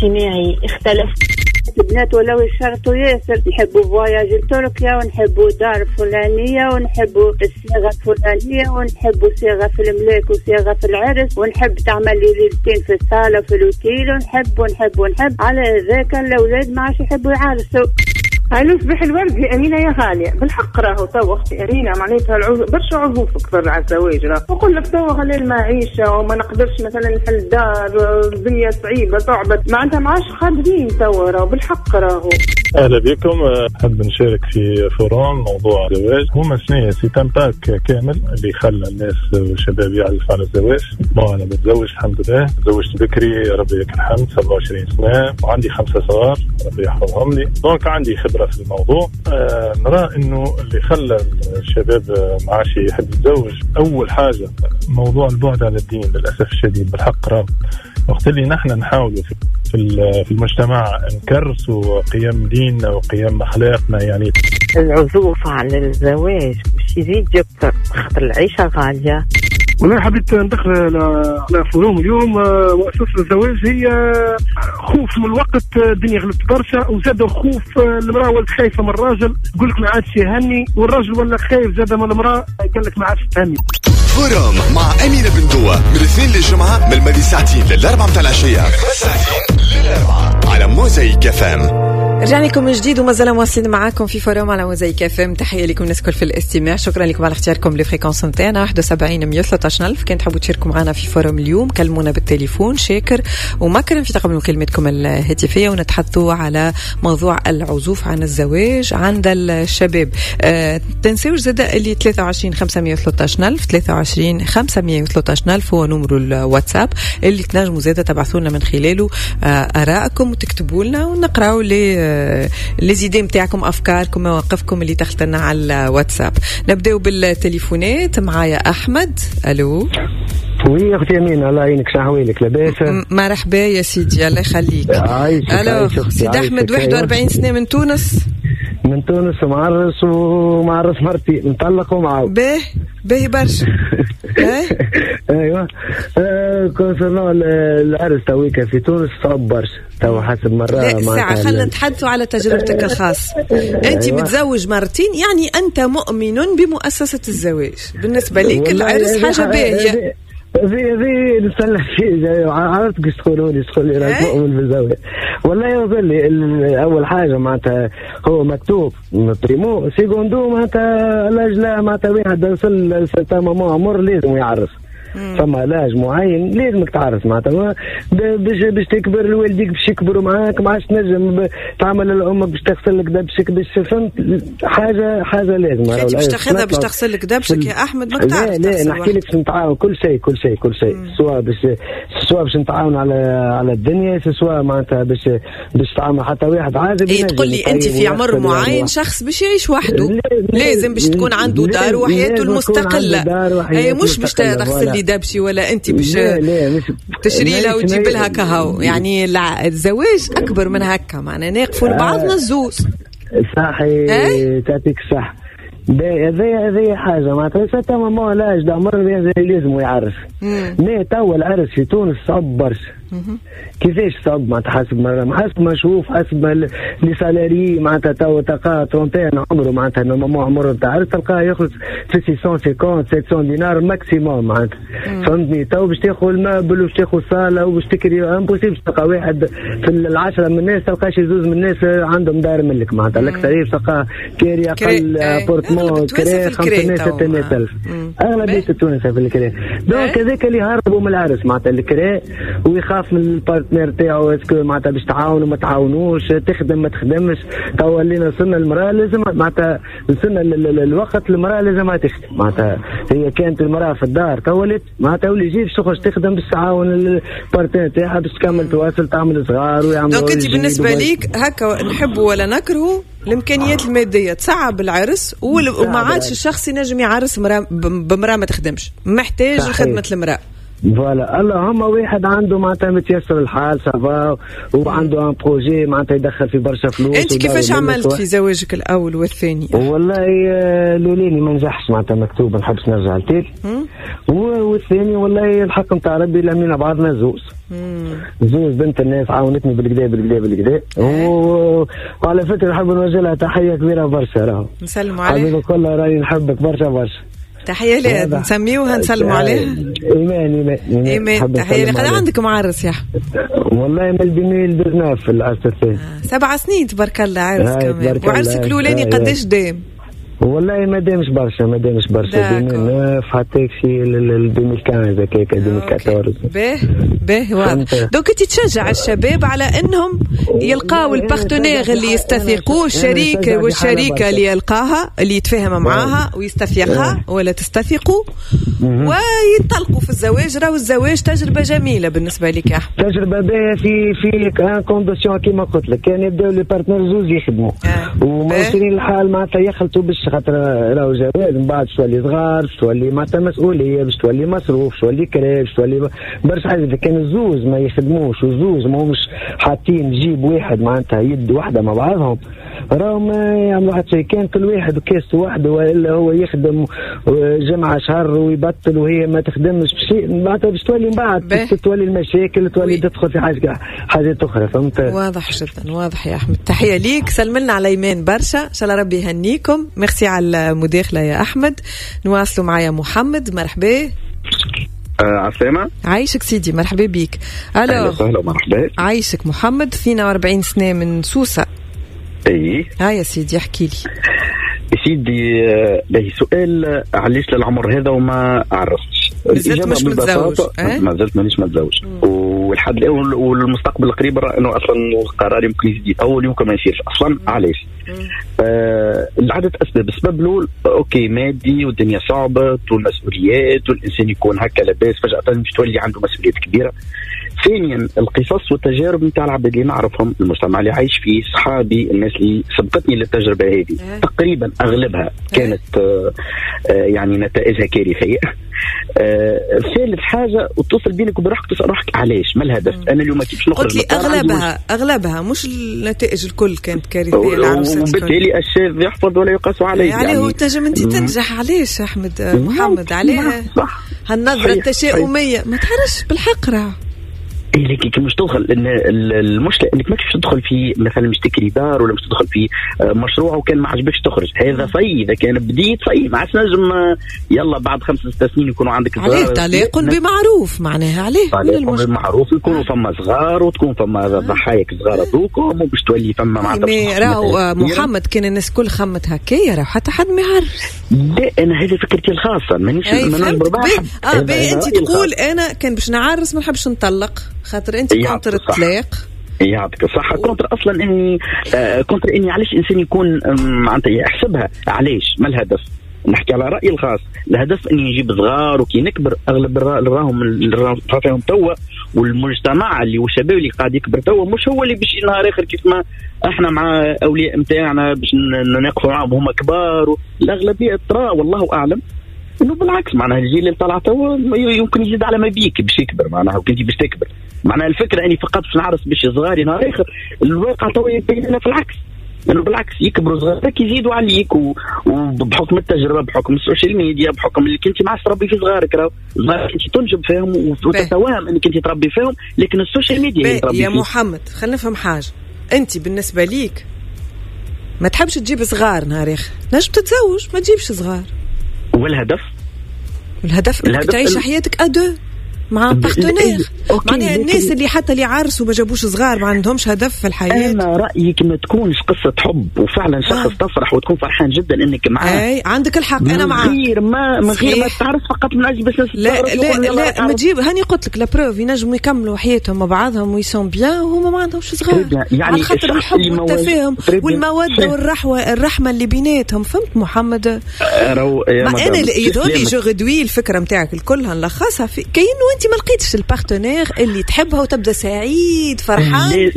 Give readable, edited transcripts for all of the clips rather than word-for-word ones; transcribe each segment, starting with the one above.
الاجتماعي اختلف. البنات ولاو يشرطوا ياسر، نحبوا voyage لتركيا ونحبوا دار فلانية ونحبوا الصيغة الفلانية ونحبوا صيغة في الملاك وصيغة في العرس ونحب تعمل لي ليلتين في الصالة في الأوتيل ونحب ونحب ونحب. على ذاك الأولاد ما عادش يحبوا يعرسوا. الو صباح الورد يا امينه يا غالية. بالحق راهو تو اختي امينه معناتها برشا عزوف كثر على الزواج. راه نقول لك تو غلي المعيشة وما نقدرش مثلا نحل دار، الدنيا صعيبة صعبت، معناتها ما عادش قادرين تو راهو بالحق راهو. اهلا بكم، نحب نشارك في forum موضوع الزواج. هما شنو c'est un pack كامل اللي خلى الناس والشباب يعزف على الزواج. bon انا متزوج الحمد لله، تزوجت بكري ربي لك الحمد، 27 سنة وعندي 5 صغار ربي يحفظهم لي، donc عندي خبره في الموضوع. نرى انه اللي خلى الشباب ما عادش يحب يتزوج اول حاجة موضوع البعد عن الدين للاسف الشديد. بالحق راه وقت اللي نحن نحاولوا في المجتمع نكرسوا قيم ديننا وقيم اخلاقنا، يعني العزوف عن الزواج باش يزيد يكثر خاطر العيشة غالية. والله حبيت ندخل على forum اليوم. مؤسسة الزواج هي خوف من الوقت، الدنيا غلبت برشا، وزاد خوف المرأة ولات خايفة من الراجل، يقول لك ما عادش يهني، والراجل ولا خايف زاد من المرأة، قال لك ما عادش تهني. forum مع أمينة بن دوة من الاثنين للجمعة من الماضي ساعتين للأربعة متاع العشية، على موزايك FM. رجعنا لكم من جديد وما زال مواصلين معاكم في forum على موزايك FM. تحية لكم الناس الكل في الاستماع، شكرا لكم على اختياركم ل fréquence نتاعنا 71 113 ألف. كان تحبوا تشاركوا معنا في forum اليوم كلمونا بالتليفون، شاكر ومكرم في تقبل مكالمتكم الهاتفية، ونتحدثوا على موضوع العزوف عن الزواج عند الشباب. تنساوش زاد اللي 23 513 ألف، 23 513 ألف هو نمر الواتساب اللي تنجموا زاد تبعثوا لنا من خلاله آرائكم وتكتبوا لنا ونقراو les idées نتاعكم، افكاركم، مواقفكم اللي تخلطنا على الواتساب. نبداو بالتليفونات. معايا احمد. الو. oui اختي امينه، الله يعينك، شحوالك لاباس؟ مرحبا يا سيدي، الله يخليك. الو سيد احمد، 41 سنة من تونس. من تونس، ومعرس ومعرس مرتي، مطلق ومعاود. باهي باهي برشا. ايوه concernant العرس تويكا في تونس صعب برشا تو حسب مرة. لا ساعة خلينا نتحدثوا على تجربتك الخاصة. أنت أيوة. متزوج مرتين، يعني أنت مؤمن بمؤسسة الزواج. بالنسبة لك العرس حاجة باهية. ذي نستنى فيه، عرفت كيش تقولوا لي تقول لي راك مؤمن بالزواج. والله يظل اول حاجة معناتها هو مكتوب primo secundo، معناتها l'âge لا معناتها واحد وصل certain moment عمر لازم يعرس. فما l'âge معين لازمك تعرس معناتها باش تكبر لوالديك، باش يكبروا معاك، ما عادش تنجم تعمل لامك باش تغسل لك دبشك، باش فهمت حاجة لازم. انت باش تاخذها باش تغسل لك دبشك يا احمد، ما تعرف. لا نحكي لك باش نتعاون كل شيء كل شيء كل شيء، سواء باش نتعاون على الدنيا، سواء معناتها باش تعاون حتى واحد عازب. اي تقول لي انت في عمر معين شخص باش يعيش وحده لازم باش تكون عنده دار وحياته المستقلة، اي مش باش تغسل لي دبشي ولا انت باش تشري لها وتجيب لها كهو. يعني الزواج اكبر من هكا، معنا ناقفوا لبعضنا الزوز. صحيح، تعطيك صح. هذه حاجة معناتها certain moment l'âge d'عمر لازم يعرس. mais توا العرس في تونس صعب برشا. كيفاش صعب؟ معناتها حسب ما حسب ما نشوف، حسب ما les salariés معناتها توا تلقاه 30 عمره معناتها normalement عمره نتاع عرس تلقاه يخلص في 650 700 دينار maximum معناتها. فهمتني؟ تو باش تاخذ ال meuble وباش تاخذ صاله وباش تكري impossible باش تلقى واحد في العشرة من الناس تلقى شي زوز من الناس عندهم دار ملك معناتها. الاكثرية تلقاه كاري اقل appartement كري 500 600 الف، اغلبية التونسية في الكري. donc هذاك اللي هربوا من العرس معناتها الكري، ويخاف من ال partenaire تاعو est-ce que معناتها باش تعاونوا ما تعاونوش، تخدم ما تخدمش. تو ولينا وصلنا المراة لازم معناتها وصلنا الوقت المراة لازم تخدم معناتها. هي كانت المراة في الدار تو ولات معناتها ولي يجي باش تخرج تخدم باش تعاون ال partenaire تاعها باش تكمل تواصل تعمل صغار ويعمل. donc انت بالنسبة ليك هكا نحبوا ولا نكرهوا الامكانيات المادية تصعب العرس، وما عادش الشخص ينجم يعرس بمراه ما تخدمش، محتاج خدمة المراة. voilà اللهم واحد عنده معناتها متيسر الحال ça va وعنده un projet معناتها يدخل في برشا فلوس. انت كيفاش عملت في زواجك الاول والثاني؟ والله الاولاني ما نجحش معناتها مكتوب، ما نحبش نرجع لتالي. والثاني والله الحق نتاع ربي لمينا بعضنا زوز زوز بنت الناس عاونتني بالكدا بالكدا بالكدا. وعلى فكرة نحب نوجه لها تحية كبيرة برشا، راهو نسلموا عليها حبيبي كلها، راني نحبك برشا برشا. تحية لها، نسميوها نسلموا عليها. ايمان ايمان ايمان، تحية لها. عندك معرس يا احمد؟ والله من 2019 في العرس الثاني. 7 سنين تبارك الله عرس كمان. وعرسك الاولاني قداش دام؟ والله ما دامش برشا، ما دامش برشا، 2009 حتى شي 2015 هكاك 2014. باه باه واضح. donc انت تشجع الشباب على انهم يلقاو ال partenaire اللي يستثقوه، الشريك والشريكه اللي يلقاها اللي يتفاهم معاها ويستثقها ولا تستثقوا وينطلقوا في الزواج. راهو الزواج تجربه جميلة بالنسبة لك يا احمد، تجربه باهيه في une condition كيما قلت لك، كان يبداو les partenaires زوز يخدموا وموصلين الحال معناتها يخلطوا باش خاطر راهو جواز من بعد تولي صغار، تولي معناتها مسؤولية، باش تولي مصروف، تولي كراء، تولي برشا حاجات. اذا كان الزوز ما يخدموش والزوز ما همش حاطين جيب واحد معناتها يد واحدة مع بعضهم، راهو ما يعملوا حتى شيء. كان كل واحد وكاسته وحده، والا هو يخدم جمعه شهر ويبطل وهي ما تخدمش بشيء، معناتها باش تولي من بعد تولي المشاكل، تولي تدخل في حاجات اخرى. فهمت؟ واضح جدا، واضح يا احمد. تحية ليك، سلملنا على ايمان برشا، ان شاء الله ربي يهنيكم. ميرسي على المداخلة يا احمد. نواصلوا معايا محمد، مرحبا. عسلامة. عايشك سيدي، مرحبا بيك. الو اهلا ومرحبا. عايشك محمد، 42 سنة من سوسة. اي هاي يا سيدي احكي لي سيدي. باهي سؤال، علاش للعمر هذا وما عرفتش؟ مازلت مش متزوج؟ ما زلت مانيش متزوج، والحد الان والمستقبل القريب انه اصلا قراري يمكن يزيد يطول، يمكن ما يصيرش اصلا. علاش؟ لعدة اسباب. السبب الاول okay مادي والدنيا صعبة والمسؤوليات والانسان يكون هكا لاباس فجاة مش تولي عنده مسؤوليات كبيرة. ثانيا القصص والتجارب نتاع العباد اللي نعرفهم، المجتمع اللي عايش فيه، صحابي، الناس اللي سبقتني للتجربه هذه تقريبا اغلبها كانت يعني نتائجها كارثية. ثالث حاجة وتصل بينك وبروحك تسال روحك علاش، ما الهدف؟ انا اليوم كيفاش نخرج؟ قلت لي اغلبها مش النتائج الكل كانت كارثية. وبالتالي الشاذ يحفظ ولا يقاس عليه. يعني هو تنجم انت تنجح. علاش احمد محمد؟ عليه هالنظره التشاؤميه ما تعرفش بالحق راه. إيه لكن مش تدخل المشكلة انك ماكش تدخل في مثلا مش تكري دار ولا مش تدخل في مشروع وكان ما عجبكش تخرج. هذا في اذا كان بديت في ما عادش نجم يلا بعد 5-6 سنين يكونوا عندك صغار. عليه طلاق بمعروف معناها، عليه طلاق بمعروف يكونوا فما صغار وتكون فما ضحايا صغار هذوكم وباش تولي فما معناتها. راهو محمد كان الناس كل خمت هكايا راهو حتى حد ما يعرف. لا انا هذه فكرتي الخاصة مانيش انت تقول انا كان باش نعرس ما نحبش نطلق خاطر انت contre الطلاق. يعطيك الصحة. contre اصلا اني contre اني علاش انسان يكون معناتها يحسبها علاش، ما الهدف؟ نحكي على رأيي الخاص، الهدف اني نجيب صغار وكي نكبر اغلب راهم فيهم توا، والمجتمع اللي والشباب اللي قاعد يكبر توا مش هو اللي باش نهار اخر كيف ما احنا مع اولياء نتاعنا باش نقفوا معاهم هما كبار. الاغلبية ترى والله اعلم انه بالعكس معناها الجيل اللي طلع توا يمكن يزيد على ما بيك باش يكبر معناها، وكنت باش تكبر معناها الفكرة اني فقط باش نعرس باش صغاري نهار اخر. الواقع توا يبين لنا في العكس، لانه بالعكس يكبروا صغارك يزيدوا عليك وبحكم التجربة، بحكم ال social media، بحكم اللي كنت مع تربي في صغارك، راهو صغارك انت تنجب فيهم وتتوهم انك انت تربي فيهم، لكن ال social media هي تربي يا فيه. محمد خلينا نفهم حاجة، انت بالنسبة ليك ما تحبش تجيب صغار نهار اخر، نجم تتزوج ما تجيبش صغار. والهدف؟ الهدف انك تعيش حياتك à deux مع partenaire. معناها الناس اللي حتى اللي عرسوا ما جابوش صغار ما عندهمش هدف في الحياة. انا رايي ما تكونش قصة حب وفعلا شخص تفرح وتكون فرحان جدا انك معاه. اي عندك الحق، انا معاك من غير ما تعرف فقط من اجل بس. لا لا لا ما تجيب، هاني قلت لك la preuve ينجموا يكملوا حياتهم مع بعضهم و ils sont bien وهما ما عندهمش صغار، يعني على خاطر الحب والتفاهم والمودة والرحمة الرحمة اللي بيناتهم. فهمت محمد؟ ما انا يظهر لي je réduis الفكرة نتاعك الكلها نلخصها في كاين انت ما لقيتش ال partenaire اللي تحبها وتبدا سعيد فرحان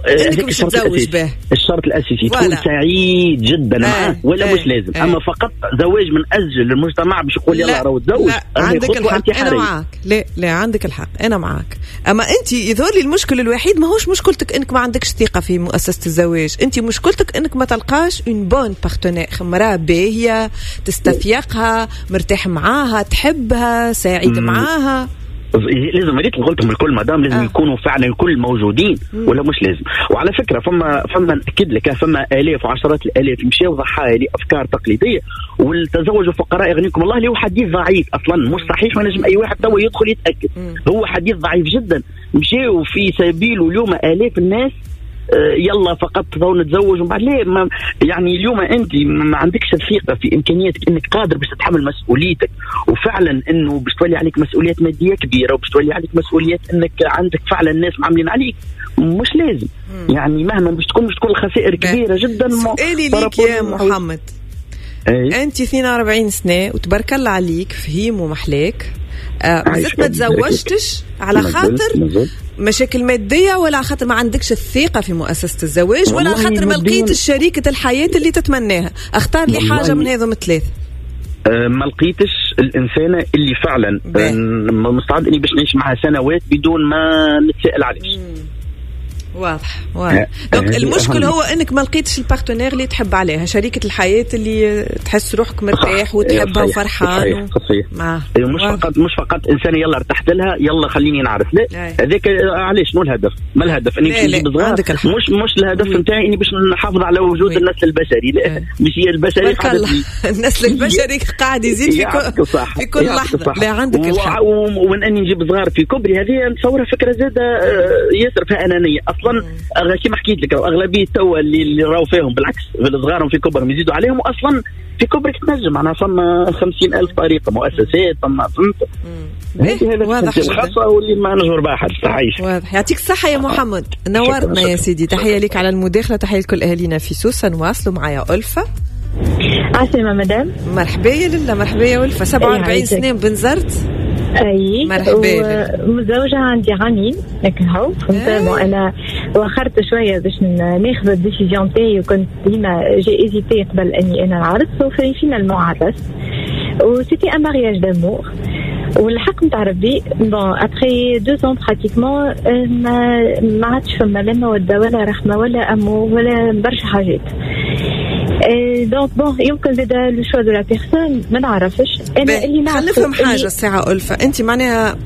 انك مش تتزوج به. الشرط الاساسي تكون سعيد جدا معاه ولا مش لازم. اما فقط زواج من اجل المجتمع باش يقول يلا راهو تزوج، عندك الحق انا معاك. لا لا عندك الحق انا معاك. اما انت يظهر لي المشكل الوحيد ماهوش مشكلتك انك ما عندكش ثقة في مؤسسة الزواج، انت مشكلتك انك ما تلقاش une bonne partenaire، مراة باهيه تستفيقها، مرتاح معاها، تحبها، سعيد معاها. لازم ريت قلتهم الكل مدام، لازم يكونوا فعلا الكل موجودين ولا مش لازم. وعلى فكرة فما ناكد لك فما الاف وعشرات الالاف مشاو ضحايا لافكار تقليدية والتزوج فقراء يغنيكم الله، اللي هو حديث ضعيف اصلا مش صحيح، ما نجم اي واحد توا يدخل يتاكد، هو حديث ضعيف جدا. مشاو في سبيله اليوم الاف الناس يلا فقط ضو نتزوج ومن بعد ليه ما يعني اليوم انت ما عندكش الثقة في امكانياتك انك قادر باش تتحمل مسؤوليتك، وفعلا انه باش تولي عليك مسؤوليات مادية كبيرة وباش تولي عليك مسؤوليات انك عندك فعلا الناس معاملين عليك، مش لازم. يعني مهما باش تكون الخسائر كبيرة جدا. سؤالي ليك يا محمد، انت 42 سنة وتبارك الله عليك، فهيم ومحلاك، مازلت ما تزوجتش على خاطر مشاكل مادية ولا على خاطر ما عندكش الثقة في مؤسسة الزواج ولا على خاطر ما لقيتش شريكة الحياة اللي تتمناها؟ اختار لي حاجة من هذم الثلاثة. ما لقيتش الإنسانة اللي فعلا مستعد اني باش نعيش معها سنوات بدون ما نتسأل عليش. واضح واضح. donc المشكل هو انك ما لقيتش ال partenaire اللي تحب عليها، شريكة الحياة اللي تحس روحك مرتاح وتحبها وفرحان. صحيح. مش فقط انسان يلا ارتحت لها يلا خليني نعرف، لا هذاك علاش شنو الهدف؟ ما الهدف اني باش نجيب صغار، مش الهدف نتاعي اني باش نحافظ على وجود النسل البشري، لا مش هي البشري قاعد النسل البشري قاعد يزيد في كل لحظة. لا عندك الحق. ومن اني نجيب صغار في كبري هذه نتصورها فكرة زاده ياسر فيها انانية اصلا. كما حكيت لك اغلبية توا اللي راهو فيهم بالعكس صغارهم في كبرهم يزيدوا عليهم، واصلا في كبرك تنجم معناها فما 50,000 طريقه مؤسسات فما فهمت. هذا الخاصة واللي ما نجبر بها حد. واضح. يعطيك الصحة يا محمد، نورتنا يا سيدي. تحية لك على المداخلة، تحية لكل اهالينا في سوسة. نواصلوا معايا ألفه. عسلامة مدام. مرحبا يا لله. مرحبا يا ألفه. 47 سنة بنزرت. اي مرحبا. متزوجة عندي عامين لكن هو فهمت. انا وخرت شوية باش ناخذ ال décision تاعي، وكنت ديما j'ai hésité قبل اني انا نعرس، وفي finalement عرست و c'était un mariage d'amour. والحق نتاع ربي bon après 2 ans pratiquement ما عادش فما لا موده ولا رحمه ولا amour ولا برشا حاجات. donc bon يمكن زاد le choix de la personne ما نعرفش. انا اللي نعرف نفهم حاجة الساعة ألفة، انت معناها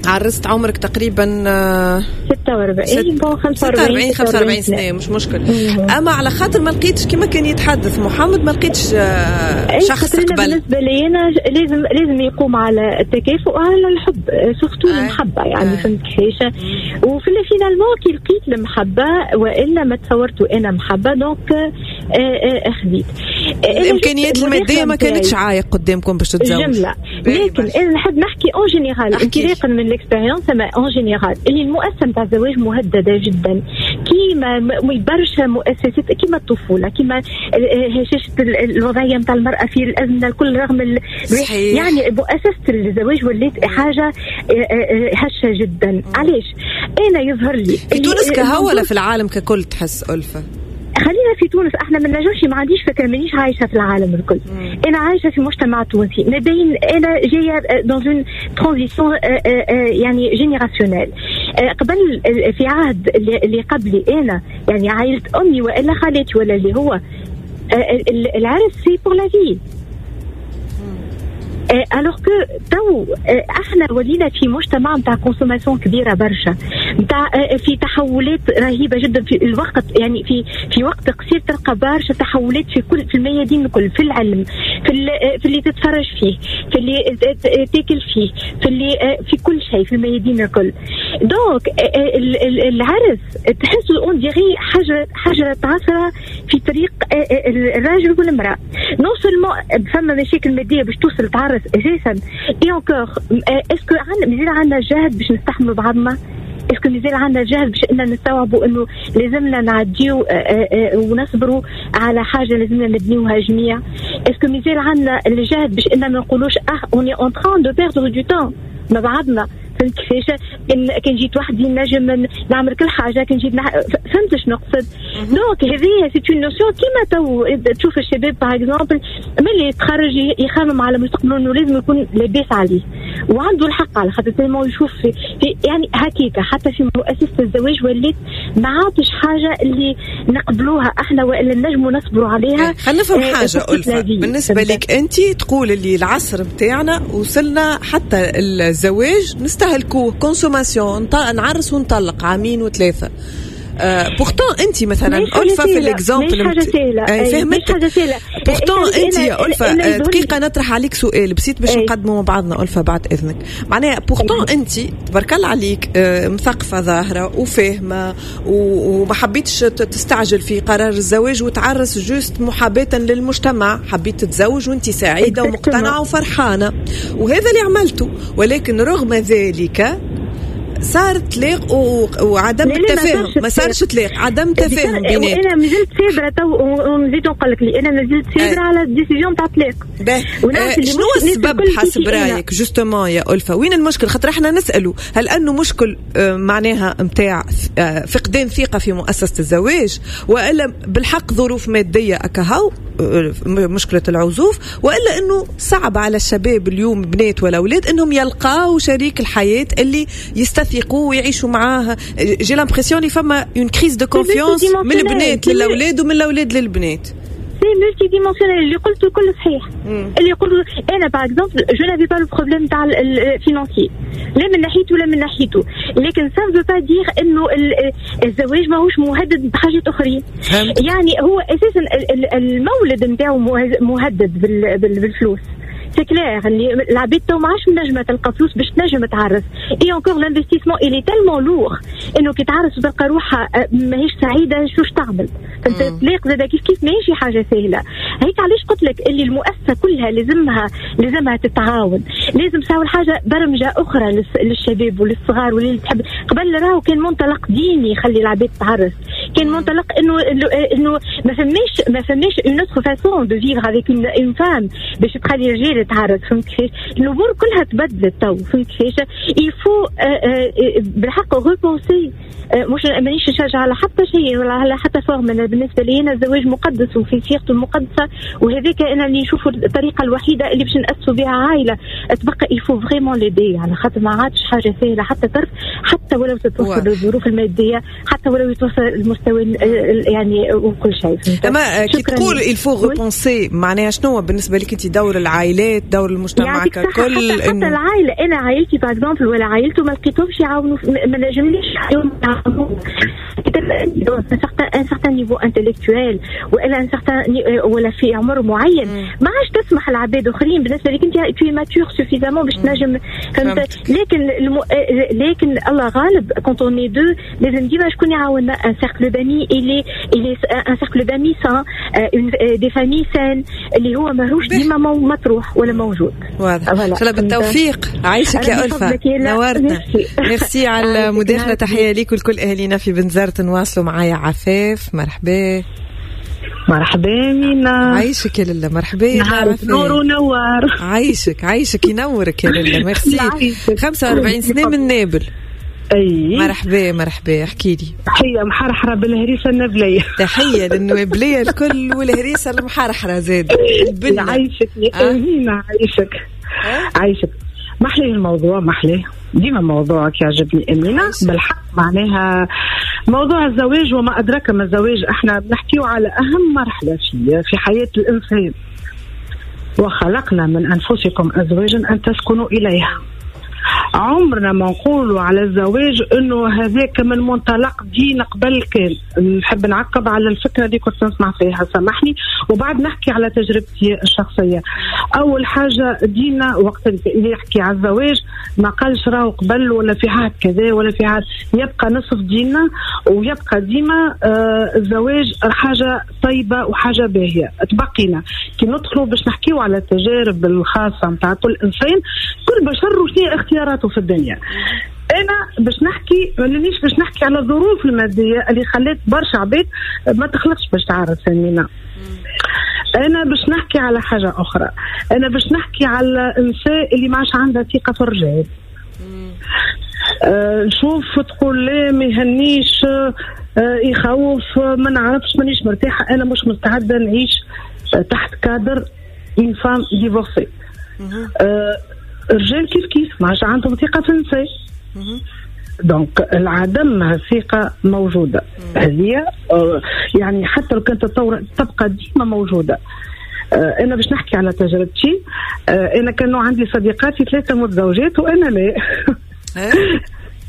عرست عمرك تقريبا 46 bon 45 سنة مش مشكل. اما على خاطر ما لقيتش كما كان يتحدث محمد، ما لقيتش شخص قبل. بالنسبة لي انا لازم يقوم على التكافؤ وعلى الحب، surtout المحبة يعني فهمت كيفاش. وفي finalement كي لقيت المحبة والا ما تصورت انا محبة donc خذيت. الامكانيات المادية ما كانتش عايق قدامكم باش تتزوجوا جملة، لكن انا نحب نحكي en général انطلاقا من l'expérience، اما en général اللي المؤسسة نتاع الزواج مهددة جدا، كيما برشا مؤسسات كيما الطفولة، كيما هشاشة الوضعية نتاع المراة في الازمة الكل، رغم يعني مؤسسة الزواج ولات حاجة هشه جدا. علاش؟ انا يظهر لي في تونس كهو ولا في العالم ككل تحس ألفة؟ خلينا في تونس، احنا ما نجمش، ما عنديش فكرة، مانيش عايشه في العالم الكل. انا عايشه في مجتمع تونسي ما بين، انا جاية dans une transition يعني générationnelle. قبل في عهد اللي قبلي انا يعني عائلة امي والا خالتي ولا اللي هو العرس c'est pour la vie، alors que تو احنا ولينا في مجتمع نتاع consommation كبيرة برشا، نتاع في تحولات رهيبة جدا في الوقت، يعني في وقت قصير تلقى برشا تحولات في كل في الميادين الكل، في العلم، في اللي تتفرج فيه، في اللي تاكل فيه، في اللي في كل شيء، في الميادين الكل. donc العرس تحسوا on dirait حجره عثره في طريق الراجل والمراة. non seulement فما مشاكل مادية باش توصل تعرس اساسا، et encore est-ce que مازال عندنا جهد باش نستحملوا بعضنا؟ est-ce que مازال عندنا جهد باش اننا نستوعبوا انه لازمنا نعديو ونصبروا على حاجة لازمنا نبنيوها جميع؟ est-ce que مازال عندنا الجهد باش اننا ما نقولوش on est en train de perdre du temps مع بعضنا؟ فهمت كيفاش؟ كان جيت وحدي نجم نعمل كل حاجة، كان جيت فهمت شنو نقصد؟ donc هذه c'est une notion كيما تو تشوف الشباب par exemple ملي يتخرج يخمم على مستقبله انه لازم يكون لاباس عليه، وعنده الحق على خاطر tellement يشوف في يعني هكاك. حتى في مؤسسة الزواج ولات ما عادش حاجة اللي نقبلوها احنا والا نجموا نصبروا عليها. خلينا نفهم حاجة ألفة، بالنسبة لك انت تقول اللي العصر بتاعنا وصلنا حتى الزواج نستهلكوه consommation، نعرس ونطلق عامين وثلاثة. pourtant انت مثلا ألفة في l'exemple فهمت. pourtant انت يا ألفة دقيقة نطرح عليك سؤال بسيط باش نقدمه مع بعضنا ألفة بعد اذنك. معناها pourtant انت تبارك الله عليك مثقفة ظاهره وفاهمه وما حبيتش تستعجل في قرار الزواج وتعرس juste محاباة للمجتمع، حبيت تتزوج وانت سعيدة ومقتنعه وفرحانه، وهذا اللي عملته. ولكن رغم ذلك صار طلاق وعدم التفاهم، ما صارش طلاق، عدم تفاهم بيناتهم. انا مازلت صابره تو، ونزيد نقول لك انا مازلت صابره على ال décision تاع الطلاق. شنو السبب حسب رايك justement يا ألفة؟ وين المشكل؟ خاطر احنا نسالوا هل انه مشكل معناها نتاع فقدان ثقة في مؤسسة الزواج، والا بالحق ظروف مادية اكهو مشكلة العزوف، والا انه صعب على الشباب اليوم بنات ولا اولاد انهم يلقاو شريك الحياة اللي يستثقوا ويعيشوا معاه؟ j'ai l'impression اللي فما une crise de confiance من البنات للاولاد ومن الاولاد للبنات. c'est multidimensionnel. اللي قلته كله صحيح. اللي قلته انا par exemple je n'avais pas le problème تاع ال financier، لا من ناحيته ولا من ناحيته، لكن ça veut pas dire انه الزواج ماهوش مهدد بحاجات اخرين. يعني هو اساسا المولد نتاعو مهدد بالفلوس. c'est clair اللي العباد تو ما عادش نجمه تلقى فلوس باش تنجم تعرس. et encore l'investissement il est tellement lourd انه كي تعرس وتلقى روحها ماهيش سعيدة شوش تعمل؟ فانت الطلاق زاد كيف كيف ماهيش حاجة سهلة. هيك علاش قلت لك اللي المؤسسة كلها لازمها تتعاون، لازم تساوي حاجة برمجة اخرى للشباب وللصغار واللي تحب. قبل راهو كان منطلق ديني يخلي العباد تعرس، كان منطلق انه ما فماش une autre façon de vivre avec une femme باش تخلي الرجال تعرس. فهمت كيفاش؟ الامور كلها تبدلت تو. فهمت كيفاش؟ il faut بالحق repenser. مش مانيش نشجع على حتى شيء ولا على حتى forme. انا بالنسبة لي انا الزواج مقدس وفي صيغته المقدسة، وهذاك انا اللي نشوفه الطريقة الوحيدة اللي باش ناسسوا بها عائلة. تبقى il faut vraiment l'aider على خاطر ما عادش حاجة سهلة حتى طرف، حتى ولو تتوصل الظروف المادية، حتى ولو يتوصل المستوى يعني وكل شيء. اما كي تقول il faut repenser معناها شنو بالنسبة لك انت؟ دور العائلات، دور المجتمع ككل. حتى العائلة، انا عائلتي par exemple ولا عائلته ما لقيتهمش يعاونوا، ما نجمليش un certain niveau intellectuel ولا un certain ولا في عمر معين ما عادش تسمح لعباد اخرين. بالنسبة لك انت tu es mature suffisamment باش تنجم، فهمت؟ لكن الله غالب quand on est deux لازم ديما شكون يعاوننا. un cercle d'amis il est un cercle d'amis sain, des familles saines اللي هو ماهوش ديما مطروح ولا موجود. واضح. ان شاء الله بالتوفيق. عايشك يا ألفة، نورتنا. ميرسي على المداخلة، تحية ليك ولكل اهالينا في بنزرت. نواصلوا معايا عفاف، مرحبا. مرحبا مينا. عايشك يا للا، مرحبا. نهارك نور ونوار. عايشك عايشك ينورك يا للا. ميرسي. 45 سنة من نابل. اي مرحبا مرحبا. احكي لي. تحية محرحره بالهريسه النبليه. تحية للنوابليه الكل والهريسه المحرحره زاد. عايشك يا مينا، عايشك عايشك. محلي الموضوع، محلي ديما موضوعك يعجبني أمينة بالحق. معناها موضوع الزواج وما أدراك ما الزواج، احنا بنحكيه على أهم مرحلة في حياة الإنسان. وخلقنا من أنفسكم أزواجا أن تسكنوا إليها. عمرنا ما نقولوا على الزواج انه هذاك من منطلق دين قبل. كان نحب نعقب على الفكرة اللي كنت نسمع فيها، سامحني، وبعد نحكي على تجربتي الشخصية. اول حاجة ديننا وقت اللي يحكي على الزواج ما قالش راهو قبل ولا في عهد كذا ولا في عهد، يبقى نصف ديننا ويبقى ديما الزواج حاجة طيبة وحاجه باهيه. تبقينا كي ندخلوا باش نحكيو على التجارب الخاصة نتاع كل انسان، كل بشر وشنو اختياراته في الدنيا. انا باش نحكي مانيش باش نحكي على الظروف المادية اللي خلت برشا عباد ما تخلقش باش تعرف سمينا. انا باش نحكي على حاجة اخرى، انا باش نحكي على النساء اللي ما عادش عندها ثقة في الرجال. نشوف تقول لا ما يهنيش، يخوف، ما نعرفش، مانيش مرتاحة، انا مش مستعدة نعيش تحت cadre une femme divorcée. الرجال كيف كيف ما عادش عندهم ثقة في النساء. donc العدم الثقة موجودة هذه، يعني حتى لو كانت تطور تبقى ديما موجودة. انا باش نحكي على تجربتي، انا كانوا عندي صديقاتي 3 متزوجات وانا لا.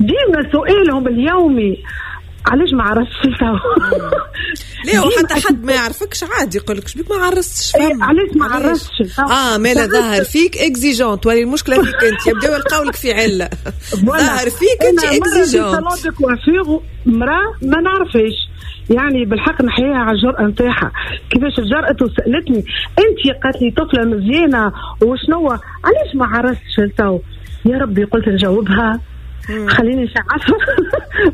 ديما سؤالهم اليومي علاش ما عرستش؟ لا وحتى حد ما يعرفكش عادي يقول لك شبيك ما عرستش، فهم علاش ما عرستش؟ مالا ظاهر فيك exigeante، ولا المشكلة فيك انت، يبداو يلقاو لك في عله. ظاهر فيك انت exigeante. salon de coiffure مراة ما نعرفهاش، يعني بالحق نحييها على الجرأة نتاعها، كيفاش جرأت وسألتني انت، قالت لي طفله مزيانه وشنو علاش ما عرستش لتو؟ يا ربي قلت نجاوبها خليني نشعفها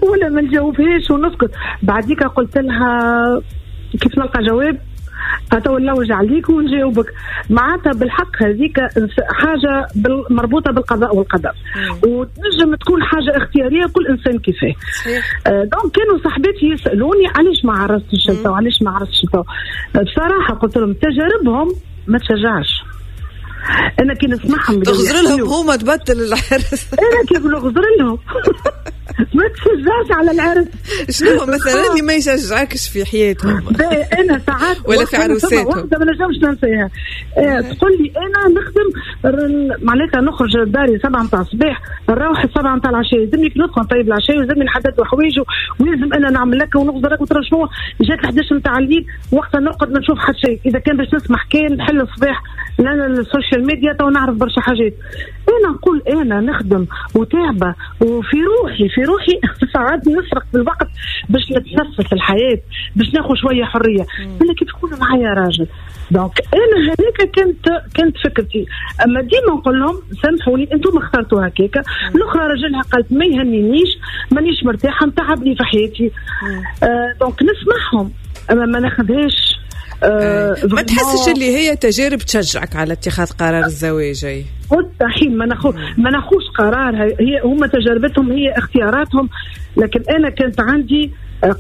ولا ما نجاوبهاش ونسكت. بعديك قلت لها كيف نلقى جواب تو نلوج عليك ونجاوبك. معناتها بالحق هذيك حاجة مربوطة بالقضاء والقدر، وتنجم تكون حاجة اختيارية كل انسان كيفاه. donc كانوا صاحباتي يسالوني علاش ما عرستش انت وعلاش ما عرستش انت. بصراحة قلت لهم تجاربهم ما تشجعش. انا كي نسمعهم تغزر لهم هما تبطل العرس. انا كيف نغزر لهم ما تشجعش على العرس. شنو مثلا اللي ما يشجعكش في حياتهم؟ انا ساعات ولا في عروساتهم واحدة ما نجمش ننساها، تقول لي انا نخدم معناتها نخرج داري 7 متاع الصباح نروح 7 متاع العشاء، لازمني ندخل نطيب العشاء ولازمني نحدد حوايجه ولازم انا نعمل لك ونغزر لك وترى شنو. جات 11 متاع الليل وقتها نرقد ما نشوف حتى شيء. اذا كان باش نسمح كان نحل الصباح لان ال social media تو نعرف برشا حاجات. انا نقول انا نخدم وتعبه وفي روحي في روحي ساعات نسرق في الوقت باش نتنفس الحياة، باش ناخذ شوية حرية. انا كي تكون معايا راجل donc انا هذيك كانت فكرتي. اما ديما نقول لهم سامحوني انتم اخترتوا هكاك. الاخرى راجلها قالت ما يهنينيش، مانيش مرتاحة، متعبني في حياتي. donc نسمعهم اما ما ناخذهاش. ما تحسش اللي هي تجارب تشجعك على اتخاذ قرار الزواج؟ مستحيل، ما ناخوش قرار. هي هما تجربتهم، هي اختياراتهم. لكن انا كانت عندي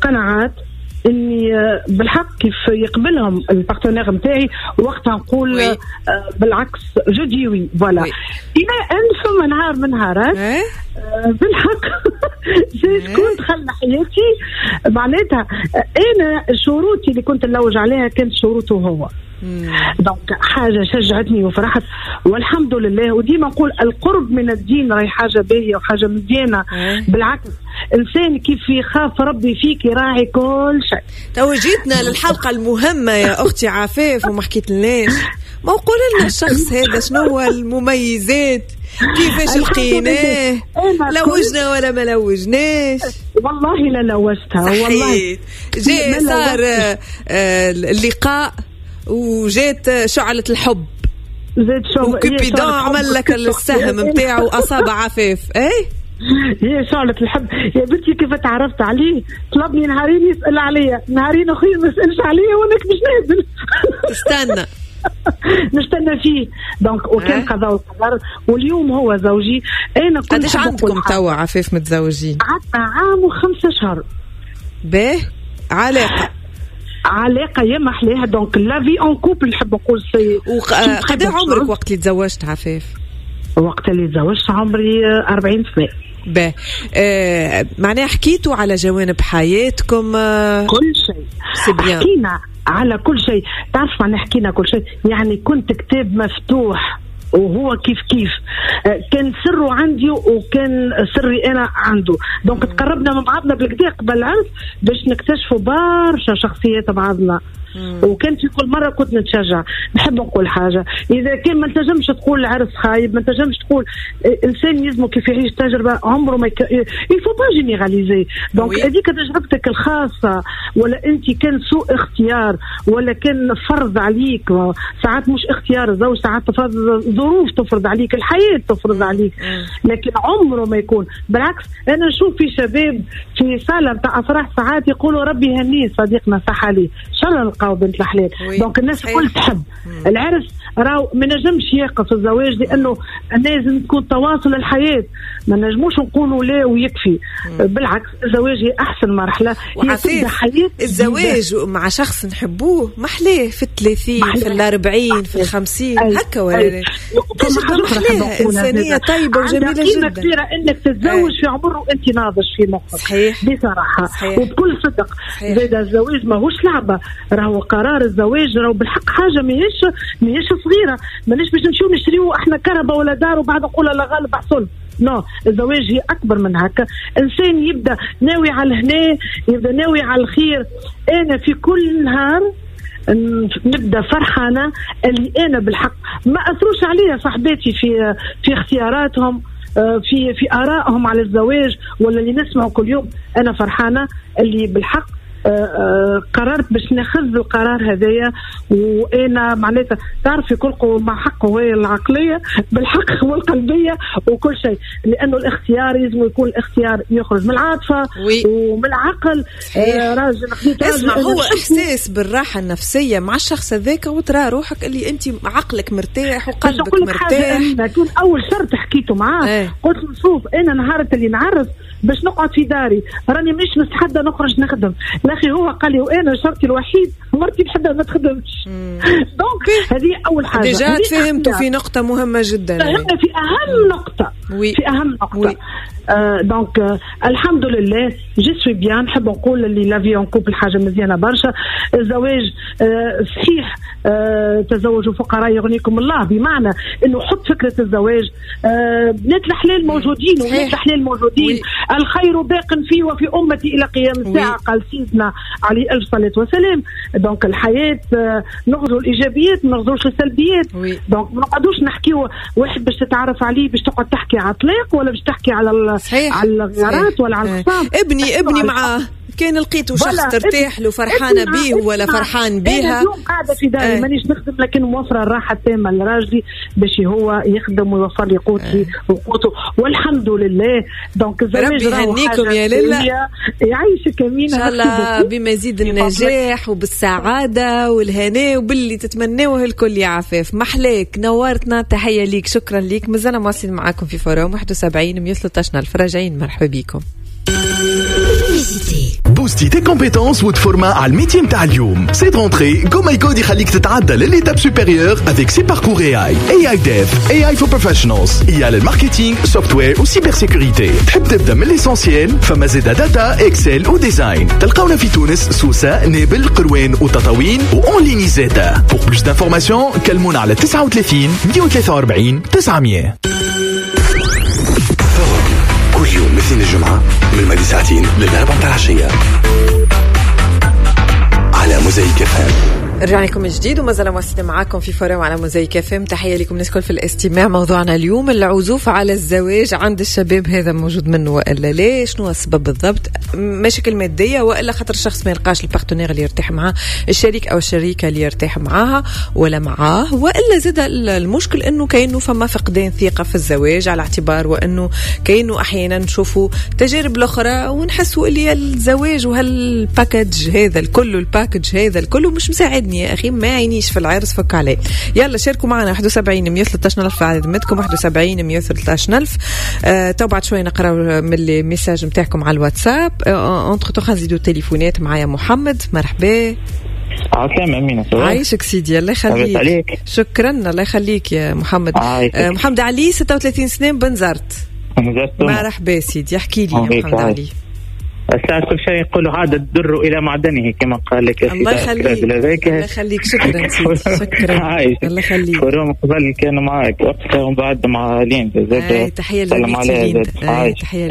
قناعات اني بالحق كيف يقبلهم ال partenaire نتاعي وقتها نقول بالعكس je dis oui voilà. الى ان فما نهار من نهارات بالحق شكون دخل حياتي، معناتها انا شروطي اللي كنت نلوج عليها كانت شروطه هو. donc حاجة شجعتني وفرحت والحمد لله. وديما نقول القرب من الدين راهي حاجة باهيه وحاجه مزيانه. بالعكس انسان كيف يخاف ربي فيك يراعي كل شيء. تو جيتنا للحلقة المهمة يا اختي عفاف وما حكيت لناش، ما قول لنا الشخص هذا شنو هو المميزات، كيفاش لقيناه، لوجنا ولا ما لوجناش؟ والله لا لوجتها والله. جاء صار اللقاء وجات شعلة الحب، زاد شعلة وكوبيدون عمل لك السهم متاعه وأصاب عفاف. ايه هي شعلة الحب يا بنتي. كيف تعرفت عليه؟ طلبني نهارين يسأل عليا، نهارين أخرين ما يسألش عليا وأنا مش نازل تستنى نستنى فيه. donc وكان قضاء وقدر واليوم هو زوجي. أنا كنت قداش عندكم توا عفاف متزوجين؟ عندنا عام و5 شهور. باه علاقة يا محليها. donc la vie en couple نحب نقول c'est. قد عمرك وقت اللي تزوجت عفاف؟ وقت اللي تزوجت عمري 40 سنة. باه معناها حكيتوا على جوانب حياتكم؟ كل شيء حكينا على كل شيء. تعرف معناها حكينا كل شيء، يعني كنت كتاب مفتوح وهو كيف كيف كان سره عندي وكان سري انا عنده. donc تقربنا من بعضنا بالكدا قبل العرس باش نكتشفوا برشا شخصيات بعضنا. وكان في كل مرة كنت نتشجع. نحب نقول حاجة، اذا كان ما تنجمش تقول العرس خايب، ما تنجمش تقول انسان يلزمه كيف يعيش تجربه عمره ما il faut pas généraliser. donc هذيك تجربتك الخاصة، ولا انت كان سوء اختيار، ولا كان فرض عليك. ساعات مش اختيار الزوج، ساعات تفرض ظروف تفرض عليك، الحياة تفرض عليك. لكن عمره ما يكون بالعكس. انا نشوف في شباب في صاله نتاع افراح ساعات يقولوا ربي يهنيه صديقنا صح عليه، ان شاء الله نلقاو بنت الحلال. donc الناس الكل تحب العرس، راهو ما نجمش يقف الزواج لانه لازم تكون تواصل الحياة، ما نجموش نقولوا لا ويكفي. بالعكس الزواج هي احسن مرحلة، هي تبدا حياة. الزواج مع شخص نحبوه محلاه في 30 في 40 في 50 هكا ولا محلاه، انسانيه طيبة وجميلة جدا. قيمة كبيرة انك تتزوج في عمر وانت ناضج في مخك. صحيح. بصراحة. صحيح. وبكل صدق. زاد الزواج ماهوش لعبه، راهو قرار الزواج راهو بالحق حاجة ماهيش صغيرة، مانيش باش نمشيو نشريو احنا كرهبه ولا دار وبعد نقول لا غالب حصل. non، الزواج هي اكبر من هكا. انسان يبدا ناوي على الهنا، يبدا ناوي على الخير. انا في كل نهار نبدا فرحانة اللي انا بالحق ما اثروش عليا صاحباتي في اختياراتهم، في ارائهم على الزواج ولا اللي نسمعه كل يوم. انا فرحانة اللي بالحق قررت باش ناخذ القرار هذايا، وانا معناتها تعرفي كل قوة مع حقه هي العقلية بالحق والقلبيه وكل شيء، لانه الاختيار لازم يكون الاختيار يخرج من العاطفة ومن العقل. راجل خديت راجل، اسمع، هو احساس بالراحة النفسية مع الشخص هذاك، وترى روحك اللي انت عقلك مرتاح وقلبك مرتاح. كان اول شرط حكيته معاه قلت له شوف انا نهار اللي نعرف باش نقعد في داري، راني مش مستحده نخرج نخدم. الاخي هو قال لي وانا شرطي الوحيد مرتي نحبها ما تخدمش. donc هذه اول حاجة. déjà تفهمتوا في نقطة مهمة جدا، فهمنا في اهم نقطة. oui. في اهم نقطة. donc الحمد لله je suis bien. نحب نقول اللي la vie en couple حاجة مزيانه برشا. الزواج صحيح، تزوجوا فقراء يغنيكم الله، بمعنى انه حط فكرة الزواج. بنات الحلال موجودين وبنات الحلال موجودين. الخير باق في وفي امتي الى قيام الساعة، قال سيدنا عليه الف صلاة وسلام. donc الحياة نغزو الايجابيات ما نغزوش السلبيات. donc ما نقعدوش نحكيو واحد باش تتعرف عليه باش تقعد تحكي على طلاق ولا باش تحكي على الغارات ولا على الخصام. ابني معاه كان لقيته شخص ترتاح له، فرحانة بيه ولا فرحان بيها. انا اليوم قاعدة في داري مانيش نخدم، لكن موفره الراحة التامة لراجلي باش هو يخدم ويوفر لي قوتي وقوته، والحمد لله. donc الزواج ربي يهنيكم يا ليلى، يعيشك امينه ان شاء الله بمزيد النجاح وبالسعاده والهناء وباللي تتمنوه الكل. يا عفاف محلاك، نورتنا، تحية ليك، شكرا ليك. مازلنا مواصلين معاكم في forum 71 113 الف، راجعين، مرحبا بكم. booster tes compétences وتفورما على ال métier نتاع اليوم. cette rentrée GoMyCode يخليك تتعدى لل étape supérieure avec ses parcours AI, AI Dev, AI for Professionals, IA لل marketing, software و cybersécurité. تحب تبدا من l'essentiel، فما زيد data, Excel و design. تلقاونا في تونس، سوسة، نابل، قروان وتطاوين، و en ligne زاده. Pour plus d'informations كلمونا على 39 143 900. كل يوم الاثنين الجمعة من الماضي ساعتين للأربعة متاع العشية على موزايك FM. رجعنا لكم من جديد وما زال مواصلين معاكم في forum على موزايك FM. تحية لكم الناس الكل في الاستماع. موضوعنا اليوم العزوف على الزواج عند الشباب، هذا موجود منه والا لا؟ شنو السبب بالضبط؟ مشاكل مادية والا خاطر الشخص ما يلقاش ال partenaire اللي يرتاح معاه، الشريك او الشريكة اللي يرتاح معاها ولا معاه، والا زاد المشكل انه كانه فما فقدان ثقة في الزواج، على اعتبار وانه كانه احيانا نشوفوا تجارب الاخرى ونحسوا اللي الزواج وهال package هذا الكل، ال package هذا الكل مش مساعد يا أخي، ما عينيش في العرس، فك عليه. يلا شاركوا معنا 71 113 ألف على ذمتكم، 71 113 ألف. تو بعد شوي نقرأ من les messages نتاعكم على الواتساب. entre-temps نزيدوا التليفونات. معايا محمد، مرحبا. عسلامة أمينة، عايشك سيدي، الله يخليك. شكرا، الله يخليك يا محمد. محمد علي 36 سنة، بنزرت. مرحبا سيدي، احكي لي يا محمد علي. الساعة كل شيء يقولوا عاد الدر إلى معدنه كما قال لك. الله يخليك، الله يخليك، شكرا سيدي، شكرا، الله يخليك. forum قبل كانوا معك وقتها ومن بعد مع لين، تحية لليندا. تحية.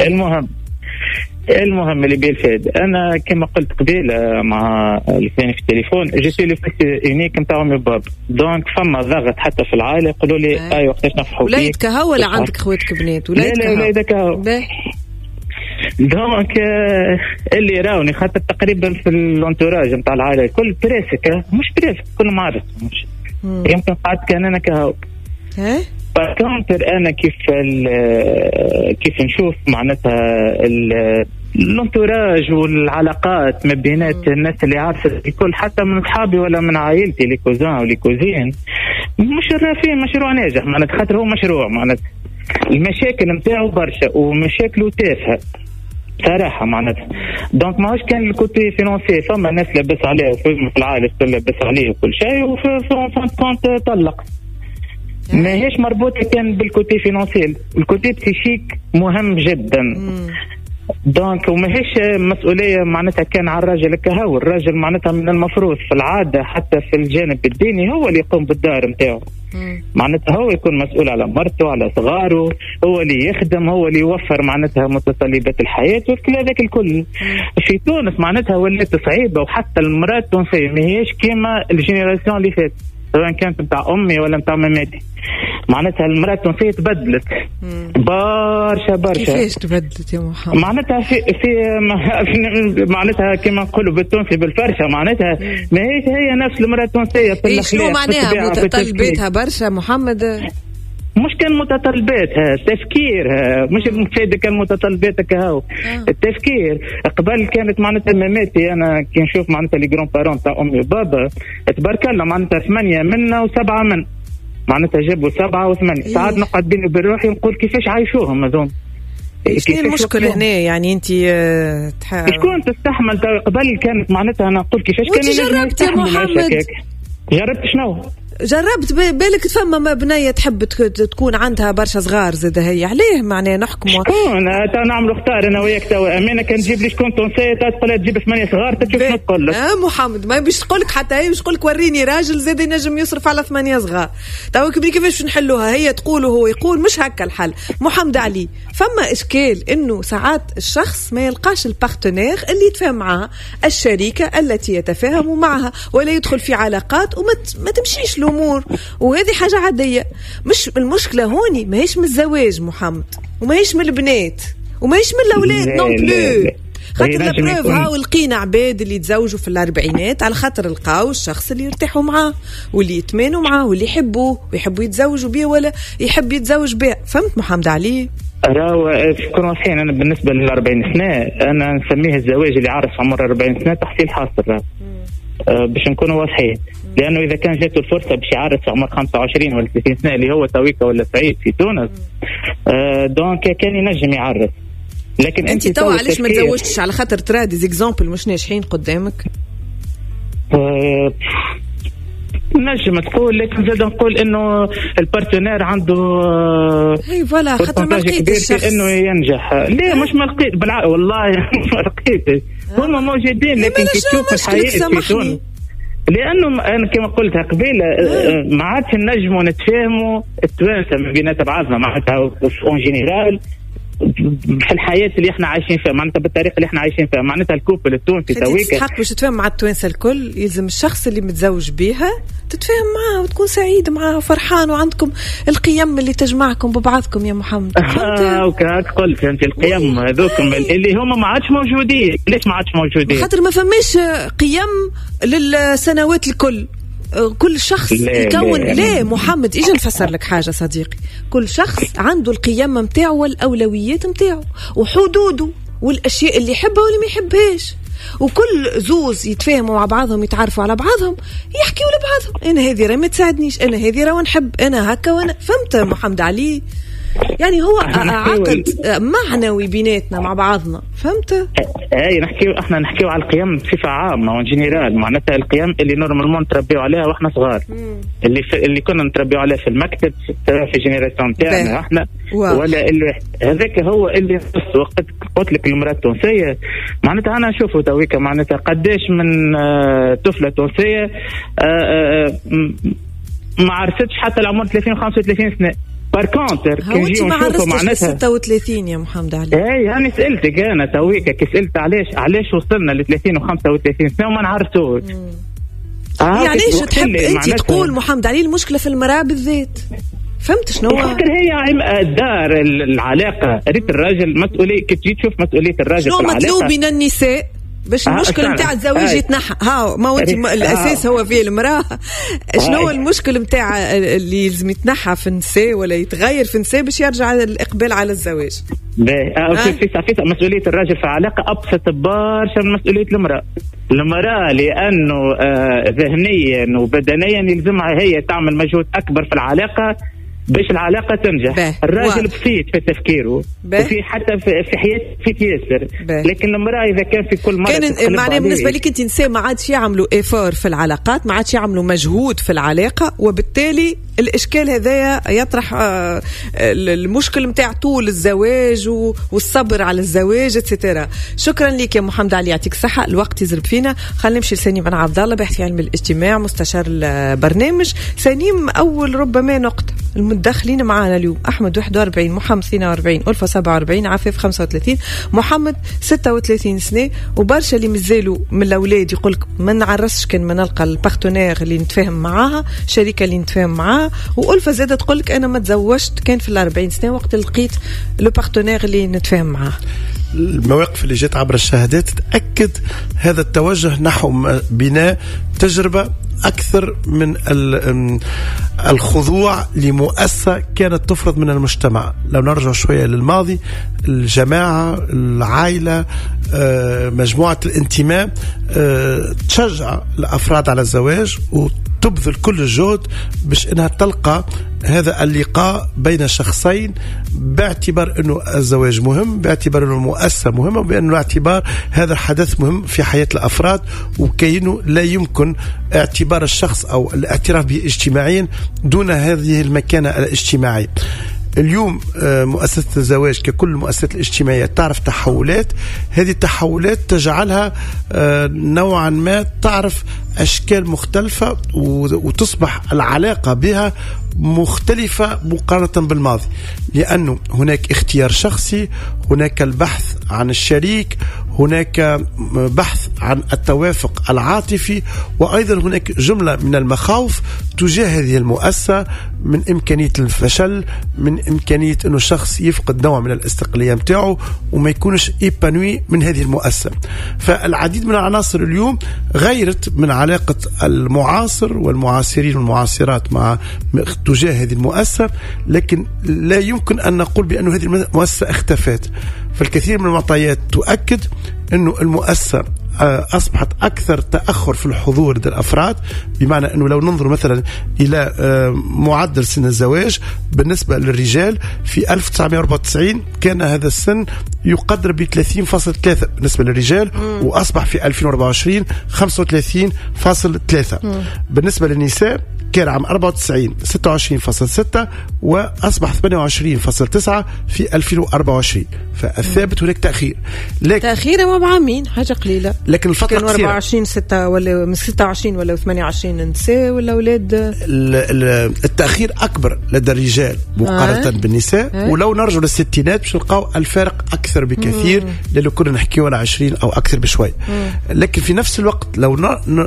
المهم اللي بالفاد، أنا كما قلت قبيل مع الثاني في التليفون، je suis le fils unique نتاع امي باب، donc فما ضغط حتى في العائلة يقولوا لي أي وقتاش نفرحوا بيك. وليد كهو ولا عندك خواتك بنات؟ وليد كهو. لا وليد كهو. donc اللي راوني خاطر تقريبا في ال entourage نتاع العائلة الكل presque، مش presque كل معرس، مش يمكن قعدت كان انا كهو. par contre انا كيف نشوف معناتها l'entourage والعلاقات ما بينات الناس اللي عارفه الكل، حتى من اصحابي ولا من عائلتي، les cousins و les cousines، مش فيه مشروع ناجح معناتها، خاطر هو مشروع معناتها المشاكل نتاعو برشا ومشاكله تافهة صراحة معناتها. donc ماهوش كان ال côté financier، فما ناس لاباس عليها في العائلة لاباس عليه وكل شيء، وفي fin de compte طلق. ماهيش مربوطة كان بال côté financier، ال côté psychique مهم جدا. donc وماهيش مسؤولية معناتها كان على الراجل كهو، الراجل معناتها من المفروض في العادة حتى في الجانب الديني هو اللي يقوم بالدار نتاعو، معناتها هو يكون مسؤول على مرته على صغاره، هو اللي يخدم، هو اللي يوفر معناتها متطلبات الحياة وكل هذاك الكل. في تونس معناتها ولات صعيبة، وحتى المراة التونسية ماهيش كيما ال génération اللي فات، سواء كانت نتاع امي ولا نتاع ماماتي، معناتها المراة التونسية تبدلت برشا برشا. كيفاش تبدلت يا محمد؟ معناتها في معناتها كما نقولوا بالتونسي بالفرشه، معناتها ماهيش هي نفس المراة التونسية في الاخلاق. شنو معناها متطلباتها برشا محمد؟ مش كان متطلباتها، تفكيرها مش مفيدة كان متطلباتك هاو. التفكير قبل كانت معناتها ماماتي، انا كي نشوف معناتها les grands-parents تاع امي وبابا تبارك الله معناتها 8 منا و7 من، معناتها جابوا 7 و8. ساعات نقعد بيني وبين روحي نقول كيفاش عايشوهم هذوم. شنو المشكلة هنا يعني انت شكون تستحمل؟ قبل كانت معناتها انا نقول كيفاش كان. جربت يا محمد؟ جربت شنو؟ جربت بالك فما بنية تحب تكون عندها برشا صغار زاد هي، عليه معناها نحكموا شكون تا نعملوا اختار انا وياك توا امانه، كان تجيب لي شكون تونسية تقول تجيب 8 صغار تشوف شنو تقول لك. محمد ما باش تقول لك حتى هي، باش تقول لك وريني راجل زاد ينجم يصرف على 8 صغار. توا كيفاش نحلوها؟ هي تقول وهو يقول، مش هكا الحل. محمد علي، فما اشكال انه ساعات الشخص ما يلقاش ال partenaire اللي يتفاهم معها، الشريكة التي يتفاهم معها، ولا يدخل في علاقات وما تمشيش الأمور، وهذه حاجة عادية. مش المشكلة هوني ماهيش من الزواج محمد، وماهيش من البنات، وماهيش من الأولاد non plus. خاطر la preuve هاو لقينا عباد اللي تزوجوا في الأربعينات على خاطر لقاو الشخص اللي يرتاحوا معاه واللي يتمانوا معاه واللي يحبوه ويحبوا يتزوجوا بيه ولا يحب يتزوج بيه. فهمت محمد علي؟ راهو كنا واضحين. أنا بالنسبة لل40 سنة أنا نسميه الزواج اللي عرف عمر 40 سنة تحصيل حاصل، باش نكونوا واضحين، لانه اذا كان جاته الفرصة باش يعرس في عمر 25 ولا 30 سنة اللي هو تويكا ولا سعيد في تونس، donc كان ينجم يعرس. لكن انت توا علاش ما تزوجتش؟ على خاطر ترى des exemples مش ناجحين قدامك. نجم تقول، لكن زاد نقول انه ال partenaire عنده اي voilà، خاطر ما لقيتش انه ينجح. ليه مش ما لقيت؟ بالعقل والله ما لقيتش، هما موجودين، لكن كي تشوف الحياة في تونس، لانه انا كما قلتها قبيلة ما عادش نجموا نتفاهموا التوانسة ما بينات بعضنا معناتها en général في الحياة اللي احنا عايشين فيها، معناتها بالطريقة اللي احنا عايشين فيها، معناتها ال couple التونسي تويكا تستحق باش تتفاهم مع التوانسة الكل. يلزم الشخص اللي متزوج بيها تتفاهم معاه وتكون سعيد معاه وفرحان، وعندكم القيم اللي تجمعكم ببعضكم يا محمد. وكاك قلت انت القيم هذوكم اللي هما ما عادش موجودين. ليش ما عادش موجودين؟ خاطر ما فماش قيم للسنوات الكل. كل شخص يكون لا محمد اجي نفسر لك حاجة صديقي. كل شخص عنده القيم متاعه والأولويات متاعه وحدوده والأشياء اللي يحبها واللي ما يحبهاش، وكل زوز يتفاهموا مع بعضهم يتعرفوا على بعضهم يحكيوا لبعضهم، أنا هذه راه ما تساعدنيش، أنا هذه راه نحب، أنا هكا وأنا. فهمت محمد علي؟ يعني هو عقد معنوي بيناتنا مع بعضنا. فهمت؟ اي نحكيو، احنا نحكيو على القيم بصفة عامة en général، معناتها القيم اللي normalement نتربيو عليها واحنا صغار، اللي كنا نتربيو عليها في المكتب في génération تاعنا احنا، ولا اللي هذاك هو اللي وقت قلت لك المراة التونسية معناتها انا نشوفه تويكا معناتها قداش من طفله تونسية ما عرفتش حتى العمر 30 35 سنة. par contre كي نجيو نشوفوا معناتها 36 يا محمد علي. اي انا سالتك انا تويكا كي سالت علاش وصلنا ل 30 و35 سنة وما نعرفوش. يعني علاش تحب انت تقول محمد علي المشكلة في المراة بالذات؟ فهمت شنو؟ خاطر هي الدار العلاقة، ريت الراجل مسؤولية، كي تجي تشوف مسؤولية الراجل في العلاقة. شنو مطلوب من النساء؟ باش المشكل نتاع الزواج يتنحى. ها ما هو انت الاساس هو فيه المراة. شنو هو المشكل نتاع اللي لازم يتنحى في النساء ولا يتغير في النساء باش يرجع الاقبال على الزواج؟ في مسؤولية الراجل في علاقة ابسط برشا من مسؤولية المراة. المراة لانه ذهنيا وبدنيا يلزمها هي تعمل مجهود اكبر في العلاقة باش العلاقة تنجح. الراجل بسيط في تفكيره وفي حتى في حياته في ياسر، لكن المرأة إذا كان في كل مرة كان معناه بالنسبة لك أنت نساء ما عادش يعملوا effort في العلاقات، ما عادش يعملوا مجهود في العلاقة، وبالتالي الإشكال هذايا يطرح المشكل متاع طول الزواج والصبر على الزواج et cetera. شكرا لك يا محمد علي، يعطيك الصحة. الوقت يزرب فينا، خلينا نمشي لسليم بن عبد الله باحث في علم الاجتماع مستشار البرنامج. سليم، أول ربما نقطة المتدخلين معنا اليوم: أحمد 41، محمد 42، ألفة 47، عفاف 35، محمد 36 سنة. وبرشا اللي مازالوا من الأولاد يقولك ما نعرسش كان ما نلقى ال partenaire اللي نتفاهم معاها، شريكة اللي نتفاهم معاها. وألفة زادة تقولك أنا ما تزوجت كان في 40 سنة وقت لقيت le partenaire اللي نتفاهم معاه. المواقف اللي جت عبر الشهادات تأكد هذا التوجه نحو بناء تجربة أكثر من الخضوع لمؤسسة كانت تفرض من المجتمع. لو نرجع شوية للماضي، الجماعة، العائلة، مجموعة الانتماء تشجع الأفراد على الزواج وتبذل كل الجهد باش إنها تلقى هذا اللقاء بين شخصين، باعتبار أنه الزواج مهم، باعتبار أنه المؤسسة مهمة، وبأنه اعتبار هذا الحدث مهم في حياة الأفراد، وكأنه لا يمكن اعتبار الشخص أو الاعتراف به اجتماعيا دون هذه المكانة الاجتماعية. اليوم مؤسسة الزواج ككل المؤسسات الاجتماعية تعرف تحولات، هذه التحولات تجعلها نوعا ما تعرف أشكال مختلفة وتصبح العلاقة بها مختلفة مقارنة بالماضي، لأنه هناك اختيار شخصي، هناك البحث عن الشريك، هناك بحث عن التوافق العاطفي، وأيضا هناك جملة من المخاوف تجاه هذه المؤسسة، من إمكانية الفشل، من إمكانية أنه الشخص يفقد نوع من الاستقلالية متاعه وما يكونش épanoui من هذه المؤسسة. فالعديد من العناصر اليوم غيرت من علاقة المعاصر والمعاصرين والمعاصرات مع تجاه هذه المؤسسة، لكن لا يمكن أن نقول بأن هذه المؤسسة اختفت. فالكثير من المعطيات تؤكد أنه المؤسسة أصبحت أكثر تأخر في الحضور لدى الأفراد، بمعنى أنه لو ننظر مثلا إلى معدل سن الزواج بالنسبة للرجال في 1994 كان هذا السن يقدر ب 30.3 بالنسبة للرجال، وأصبح في 2024 35.3. بالنسبة للنساء كان عام 94 26.6 وأصبح 28.9 في 2024. فالثابت هناك تأخير، لكن تأخير ما بعامين حاجة قليلة، لكن الفترة كانوا 24 6 ولا من 26 ولا 28 نساء ولا أولاد. التأخير أكبر لدى الرجال مقارنة بالنساء. ولو نرجع للستينات باش نلقاو الفارق أكثر بكثير، لأنه كنا نحكيو على 20 أو أكثر بشوي. لكن في نفس الوقت لو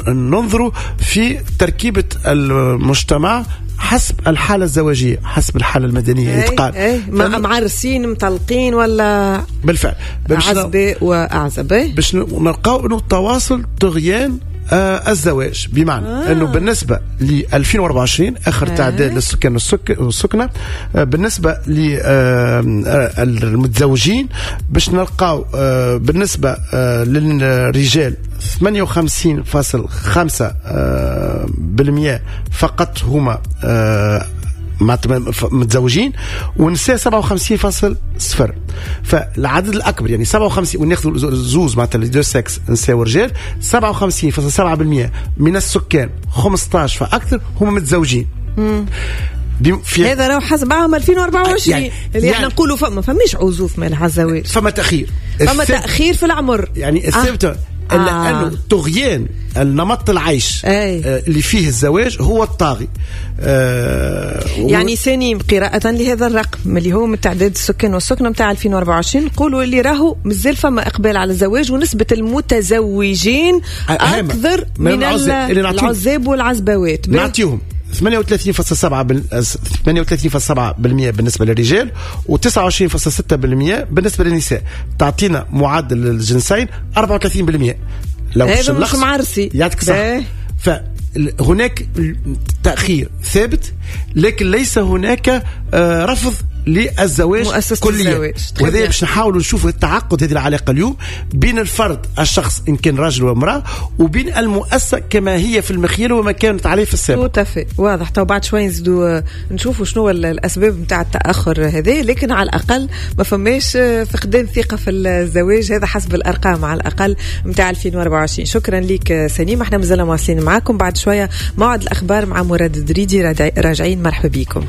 ننظر في تركيبة المجتمع حسب الحالة الزواجية، حسب الحالة المدنية يتقال معرسين مطلقين ولا بالفعل عزباء وأعزب، باش نلقاو أنه التواصل طغيان الزواج، بمعنى أنه بالنسبة ل 2024 آخر تعداد للسكان والسكنة، بالنسبة للمتزوجين باش نلقاو بالنسبة للرجال 58.5% فقط هما متزوجين، ونساء 57.0. فالعدد الأكبر يعني 57، وناخذ زوز معناتها les deux sexes نساء ورجال، 57.7% من السكان 15 فأكثر هم متزوجين. هذا راهو حسب عام 2024 يعني اللي احنا نقولوا فما فماش عزوف مال على الزواج، فما تأخير، فما تأخير في العمر، يعني الثابت إلا أنه طغيان النمط العيش اللي فيه الزواج هو الطاغي. يعني سنين قراءة لهذا الرقم اللي هو من تعداد السكان والسكنة متاع 2024 نقولوا اللي راهو مازال فما إقبال على الزواج، ونسبة المتزوجين أكثر من العزاب والعزبوات. نعطيهم 38.7% بالنسبة للرجال و29.6% بالنسبة للنساء، تعطينا معدل الجنسين 34%. لو هذا مش معرسي، يعطيك صح. فهناك تأخير ثابت، لكن ليس هناك رفض للزواج كليا. وهذا باش نحاولوا نشوفوا التعقد هذه العلاقة اليوم بين الفرد الشخص ان كان رجل وامراة وبين المؤسسة كما هي في المخيل وما كانت عليه في السابق. tout à fait واضح. تو بعد شوي نزيدوا نشوفوا شنو الاسباب نتاع التاخر هذا، لكن على الاقل ما فماش فقدان ثقة في الزواج، هذا حسب الارقام على الاقل نتاع 2024. شكرا لك سليم، احنا مازلنا مواصلين معاكم بعد شوية موعد الاخبار مع مراد الدريدي، راجعين. مرحبا بكم.